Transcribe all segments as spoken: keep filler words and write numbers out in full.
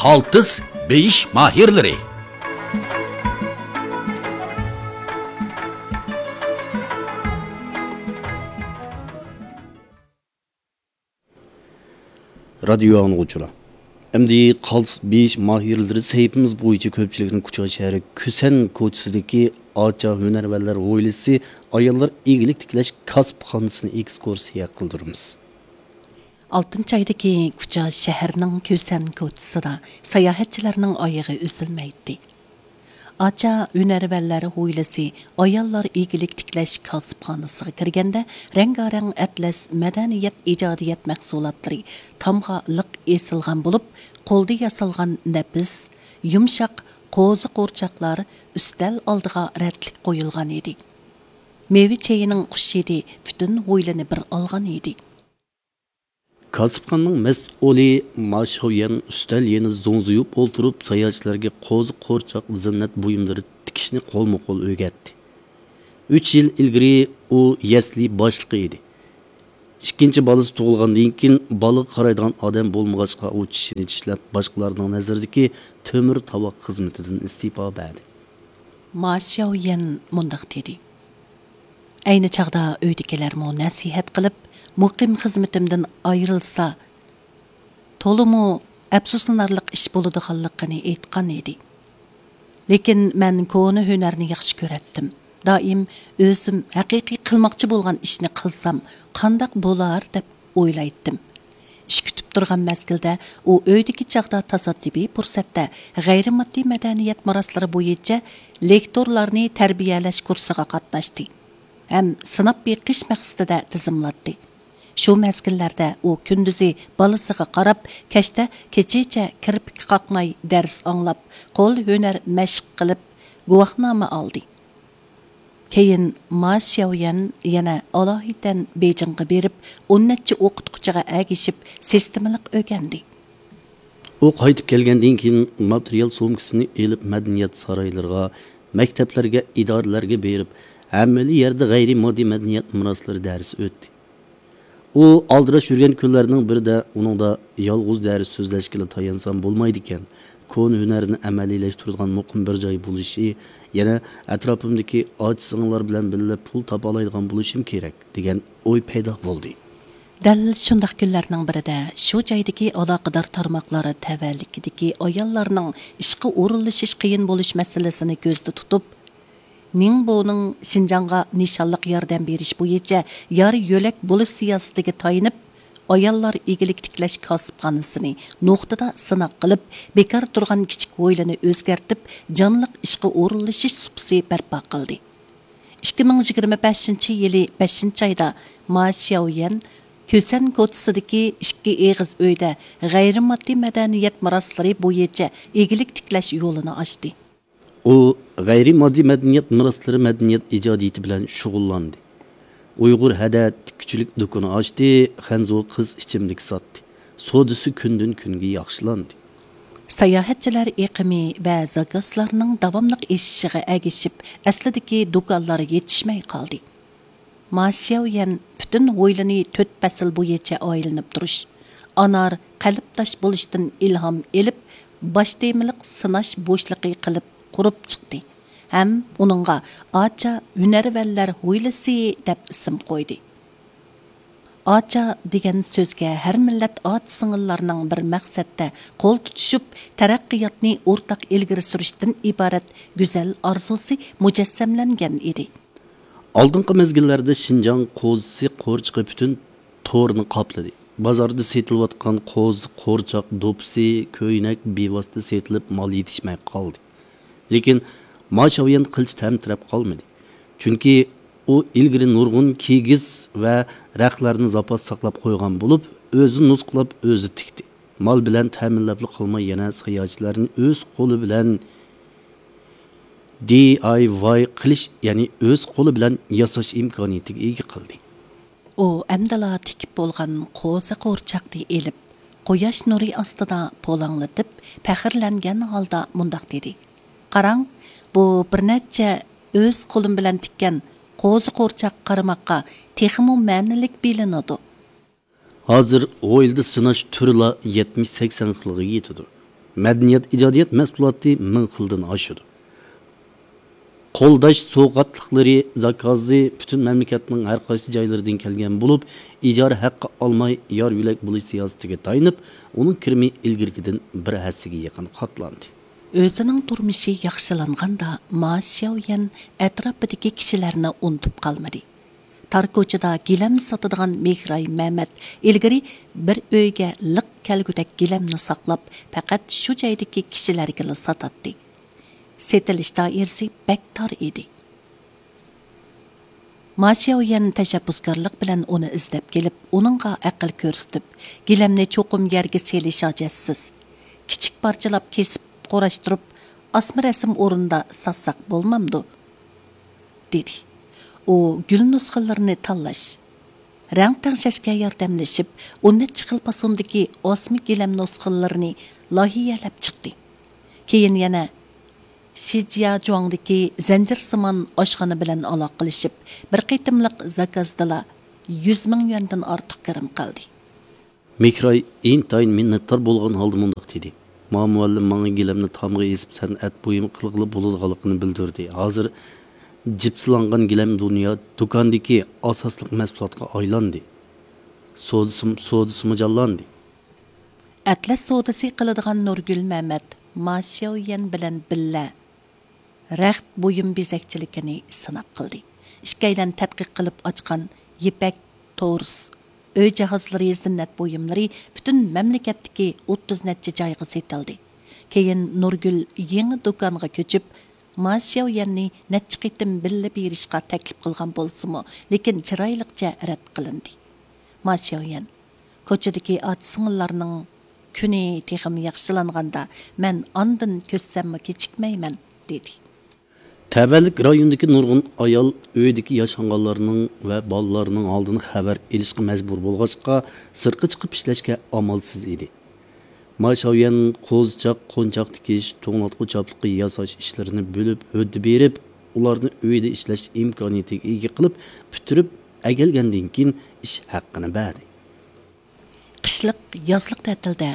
ئالتىس بېيىش ماھىرلىرى. رادىيو ئاڭلىغۇچىلار، ئەمدى قالتىس بېيىش ماھىرلىرى سەھىپىمىز بويىچە كۆپچىلىكنىڭ كۇچا شەھىرى كۈسەن كوچىسىدىكى ئاچا ھۈنەرۋەنلەر ھويلىسى ئاياللار ئىگىلىك تىكلەش كاسىپخانىسىنى ئېكسكۇرسىيە قىلدۇرىمىز. ئالتىنچى ئايدىكى كۇچا شەھىرىنىڭ كۈسەن كوچىسىدا ساياھەتچىلەرنىڭ ئايىغى ئۈزۈلمەيتتى. ئاچا ھۈنەرۋەنلەر ھويلىسى ئاياللار ئىگىلىك تىكلەش كاسىپخانىسىغا كىرگەندە، رەڭگارەڭ ئەتلەس مەدەنىيەت ئىجادىيەت مەھسۇلاتلىرى تامغا لىق ئېسىلغان بولۇپ، قولدا ياسالغان نەپىس، يۇمشاق قوزا قورچاقلار ئۈستەل ئالدىغا رەتلىك قويۇلغان ئىدى. مېۋە چېيىنىڭ خۇش ھىدى پۈتۈن ھويلىنى بىر ئالغان ئىدى. كاسىپخانىنىڭ مەسئۇلى ما شياۋيەن ئۈستەل يېنىدا زوڭزىيىپ ئولتۇرۇپ، ساياھەتچىلەرگە قوزا قورچاق زىننەت بۇيۇملىرى تىكىشنى قولمۇ قول ئۆگەتتى. ئۈچ يىل ئىلگىرى ئۇ يەسلى باشلىقى ئىدى. ئىككىنچى بالىسى تۇغۇلغاندىن كېيىن، بالىغا قارايدىغان ئادەم بولمىغاچقا، ئۇ چىشىنى چىشلەپ، باشقىلارنىڭ نەزىرىدىكى تۆمۈر تاۋاق خىزمىتىدىن ئىستېپا بەردى. ما شياۋيەن مۇنداق دېدى. ئەينى چاغدا ئۆيدىكىلەرمۇ نەسىھەت قىلىپ، مۇقىم خىزمىتىمدىن ئايرىلسا، تولىمۇ ئەپسۇسلىنارلىق ئىش بولىدىغانلىقىنى ئېيتقان ئىدى. لېكىن مەن كونا ھۈنەرنى ياخشى كۆرەتتىم. دائىم ئۆزۈم ھەقىقىي قىلماقچى بولغان ئىشنى قىلسام، قانداق بولار دەپ ئويلايتتىم. ئىش كۈتۈپ تۇرغان مەزگىلدە ئۇ ئۆيدىكى چاغدا تاسادىپىي پۇرسەتتە غەيرىي ماددىي مەدەنىيەت مىراسلىرى بويىچە لېكتورلارنى تەربىيەلەش كۇرسىغا قاتناشتى ھەم سىناپ بېقىش مەقسىتىدە تىزىملاتتى. شۇ مەزگىللەردە ئۇ كۈندۈزى بالىسىغا قاراپ، كەچتە كېچىچە كىرپىك قاقماي دەرس ئاڭلاپ، قول ھۈنەر مەشىق قىلىپ، گۇۋاھنامە ئالدى. كېيىن ما شياۋيەن يەنە ئالاھىدەن بېيجىڭغا بېرىپ، ئون نەچچە ئوقۇتقۇچىغا ئەگىشىپ، سىستېمىلىق ئۆگەندى. ئۇ قايتىپ كەلگەندىن كېيىن، ماتېرىيال سومكىسىنى ئېلىپ، مەدەنىيەت سارايلىرىغا، مەكتەپلەرگە، ئىدارىلەرگە بېرىپ، ھەممىلا يەردە غەيرىي ماددىي مەدەنىيەت مىراسلىرى دەرسى ئۆتتى. ئۇ ئالدىراش يۈرگەن كۈنلەرنىڭ بىرىدە ئۇنىڭدا يالغۇز دەرس سۆزلەشكىلا تايانسام بولمايدىكەن، كونا ھۈنەرنى ئەمەلىيلەشتۈرىدىغان مۇقىم بىر جاي بولۇشى، يەنە ئەتراپىمدىكى ئاچا-سىڭىللار بىلەن بىللە پۇل تاپالايدىغان بولۇشۇم كېرەك، دېگەن ئوي پەيدا بولدى. دەل شۇنداق كۈنلەرنىڭ بىرىدە شۇ جايدىكى ئالاقىدار تارماقلار تەۋەلىكىدىكى ئاياللارنىڭ ئىشقا ئورۇنلىشىش قىيىن بولۇش مەسىلىسىنى كۆزدە تۇتۇپ، نىڭبونىڭ شىنجاڭغا نىشانلىق ياردەم بېرىش بويىچە يار يۆلەك بولۇش سىياسىتىگە تايىنىپ، ئاياللار ئىگىلىك تىكلەش كاسىپخانىسىنى نۇقتىدا سىناق قىلىپ، بىكار تۇرغان كىچىك ھويلىنى ئۆزگەرتىپ، جانلىق ئىشقا ئورۇنلىشىش سۇپىسى بەرپا قىلدى. ئىككى مىڭ يىگىرمە بەشىنچى يىلى بەشىنچى ئايدا ما شياۋيەن كۈسەن كوچىسىدىكى ئىككى ئېغىز ئۆيدە غەيرىي ماددىي مەدەنىيەت مىراسلىرى بويىچە ئىگىلىك تىكلەش يولىنى ئاچتى. ئۇ غەيرىي ماددىي مەدەنىيەت مىراسلىرى مەدەنىيەت ئىجادىيىتى بىلەن شۇغۇللاندى. ئۇيغۇر ھەدە تىككۈچىلىك دۇكىنى ئاچتى، خەنزۇ قىز ئىچىملىك ساتتى. سودىسى كۈندىن-كۈنگە ياخشىلاندى. ساياھەتچىلەر ئېقىمى ۋە زاكازلارنىڭ داۋاملىق ئېشىشىغا ئەگىشىپ، ئەسلىدىكى دۇكانلار يېتىشمەي قالدى. ما شياۋيەن پۈتۈن ھويلىنى تۆت پەسىل بويىچە ئايلىنىپ تۇرۇش، ئانار قەلبداش بولۇشتىن ئىلھام ئېلىپ، باش تېمىلىق سىناش بوشلۇقى قىلىپ قۇرۇپ چىقتى ھەم ئۇنىڭغا ئاچا ھۈنەرۋەنلەر ھويلىسى دەپ ئىسىم قويدى. ئاچا دېگەن سۆزگە ھەر مىللەت ئاچا-سىڭىللارنىڭ بىر مەقسەتتە قول تۇتۇشۇپ، تەرەققىياتنى ئورتاق ئىلگىرى سۈرۈشتىن ئىبارەت گۈزەل ئارزۇسى مۇجەسسەملەنگەن ئىدى. ئالدىنقى مەزگىللەردە شىنجاڭ قوزىسى قورچىقى پۈتۈن تورنى قاپلىدى. بازاردا سېتىلىۋاتقان قوزا، قورچاق، دوپپىسى، كۆينەك بىۋاسىتە سېتىلىپ، مال يېتىشمەي قالدى. لېكىن ما شياۋيەن قىلچە تەمتىرەپ قالمىدى. چۈنكى ئۇ ئىلگىرى نۇرغۇن كىگىز ۋە رەختلەرنى زاپاس ساقلاپ قويغان بولۇپ، ئۆزى نۇسخىلاپ، ئۆزى تىكتى. مال بىلەن تەمىنلەپلا قالماي، يەنە ساياھەتچىلەرنى ئۆز قولى بىلەن دى ئاي ۋاي قىلىش، يەنى ئۆز قولى بىلەن ياساش ئىمكانىيىتىگە ئىگە قىلدى. ئۇ ئەمدىلا تىكىپ بولغان قوزا قورچاقنى ئېلىپ، قۇياش نۇرى ئاستىدا پۇلاڭلىتىپ، پەخىرلەنگەن ھالدا مۇنداق دېدى: «قاراڭ، بۇ بىر نەچچە ئۆز قولۇم بىلەن تىككەن قوزا قورچاق قارىماققا تېخىمۇ مەنىلىك بىلىنىدۇ.» ھازىر ھويلىدا سىناش تۈرىلا يەتمىش سەكسەن خىلغا يېتىدۇ. مەدەنىيەت ئىجادىيەت مەھسۇلاتى مىڭ خىلدىن ئاشىدۇ. قولداش سوۋغاتلىقلىرى زاكازى پۈتۈن مەملىكەتنىڭ ھەر قايسى جايلىرىدىن كەلگەن بولۇپ، ئىجارە ھەققى ئالماي يار يۆلەك بولۇش سىياسىتىگە تايىنىپ، ئۇنىڭ كىرىمى ئىلگىرىكىدىن بىر ھەسسىگە يېقىن قاتلاندى. ئۆزىنىڭ تۇرمۇشى ياخشىلانغاندا، ما شياۋيەن ئەتراپىدىكى كىشىلەرنى ئۇنتۇپ قالمىدى. تار كوچىدا گىلەم ساتىدىغان مېھراي مەمەت ئىلگىرى بىر ئۆيگە لىق كەلگۈدەك گىلەمنى ساقلاپ، پەقەت شۇ جايدىكى كىشىلەرگىلا ساتاتتى. سېتىلىش دائىرىسى بەك تار ئىدى. ما شياۋيەن تەشەببۇسكارلىق بىلەن ئۇنى ئىزدەپ كېلىپ، ئۇنىڭغا ئەقىل كۆرسىتىپ، گىلەمنى چوقۇم يەرگە سېلىش ھاجەتسىز. كىچىك پارچىلاپ كېسىپ، قۇراشتۇرۇپ، ئاسما رەسىم ئورنىدا ساتساق بولمامدۇ؟ دېدى. ئۇ گۈل نۇسخىلىرىنى تاللاش، رەڭ تەڭشەشكە ياردەملىشىپ، ئون نەچچە خىل پاسوندىكى ئاسما گىلەم نۇسخىلىرىنى لايىھەلەپ چىقتى. كېيىن يەنە شىجياجۇاڭدىكى زەنجىرسىمان ئاشخانا بىلەن ئالاقىلىشىپ، بىر قېتىملىق زاكازدىلا يۈز مىڭ يۈەندىن ئارتۇق كىرىم قىلدى. مېھراي ئىنتايىن مىننەتدار بولغان ھالدا مۇنداق دېدى: ما مۇئەللىم ماڭا گىلەمنى تامغا ئېسىپ سەنئەت بۇيۇمى قىلغىلى بولىدىغانلىقىنى بىلدۈردى. ھازىر جىپسىلانغان گىلەم دۇنيا دۇكاندىكى ئاساسلىق مەھسۇلاتقا ئايلاندى. سودىسىمۇ، سودىسىمۇ جانلاندى. ئەتلەس سودىسى قىلىدىغان نۇرگۈل مەمەت ما شياۋيەن بىلەن بىللە رەخت بۇيۇم بېزەكچىلىكىنى سىناق قىلدى. ئىككىيلەن تەتقىق قىلىپ ئاچقان يىپەك، تورس، ئۆي جاھازلىرى، زىننەت بۇيۇملىرى پۈتۈن مەملىكەتتىكى ئوتتۇز نەچچە جايغا سېتىلدى. كېيىن نۇرگۈل يېڭى دۇكانغا كۆچۈپ، ما شياۋيەننى نەچچە قېتىم بىللە بېرىشقا تەكلىپ قىلغان بولسىمۇ، لېكىن چىرايلىقچە رەت قىلىندى. ما شياۋيەن، كوچىدىكى ئاچا-سىڭىللارنىڭ كۈنى تېخىمۇ ياخشىلانغاندا، مەن ئاندىن كۆچسەممۇ كېچىكمەيمەن، دېدى. تەۋەلىك رايونىدىكى نۇرغۇن ئايال ئۆيدىكى ياشانغانلارنىڭ ۋە بالىلارنىڭ ھالىدىن خەۋەر ئېلىشقا مەجبۇر بولغاچقا، سىرتقا چىقىپ ئىشلەشكە ئامالسىز ئىدى. ما شياۋيەن قوزىچاق، قونچاق تىكىش، توڭلاتقۇ چاپلىقى ياساش ئىشلىرىنى بۆلۈپ، ھۆددە بېرىپ، ئۇلارنى ئۆيدە ئىشلەش ئىمكانىيىتىگە ئىگە قىلىپ، پۈتتۈرۈپ ئەكەلگەندىن كېيىن، ئىش ھەققىنى بەردى. قىشلىق، يازلىق تەتىلدە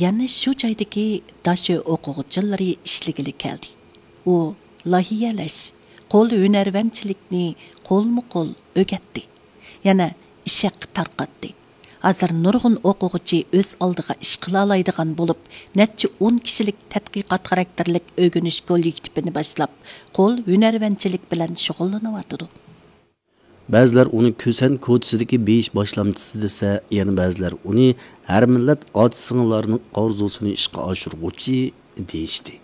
يەنە شۇ جايدىكى داشۆ ئوقۇغۇچىلىرى ئىشلىگىلى كەلدى. ئۇ لايىھەلەش، قول ھۈنەرۋەنچىلىكنى قولمۇ قول ئۆگەتتى. يەنە ئىش ھەققى تارقاتتى. ھازىر نۇرغۇن ئوقۇغۇچى ئۆز ئالدىغا ئىش قىلالايدىغان بولۇپ، نەچچە ئون كىشىلىك تەتقىقات خاراكتېرلىك ئۆگىنىش كوللېكتىپىنى باشلاپ، قول ھۈنەرۋەنچىلىك بىلەن شۇغۇللىنىۋاتىدۇ. بەزىلەر ئۇنى كۈسەن كوچىسىدىكى بېيىش باشلامچىسى دېسە، يەنە بەزىلەر ئۇنى ھەر مىللەت ئاچا-سىڭىللارنىڭ ئارزۇسىنى ئىشقا ئاشۇرغۇچى دېيىشتى.